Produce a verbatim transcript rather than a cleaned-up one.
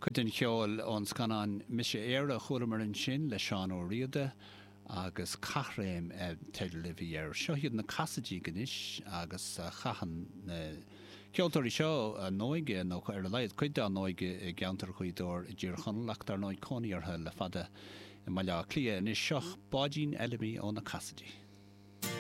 Cuid den cheol ón scannán Mise Éire a chualamar ansin le Seán Ó Riada agus Caithréim teideal a bhí air. Seo iad na Casaidigh anois agus chaitheann na ceoltóirí seo a n-óige nó ar a laghad cuid dá n-óige i gceantar Ghaoth Dobhair i dTír Chonaill ach dar ndóigh cónaí orthu le fada i mBaile Átha Cliath anois seo Báidín Fheilimí ó na Casaidigh.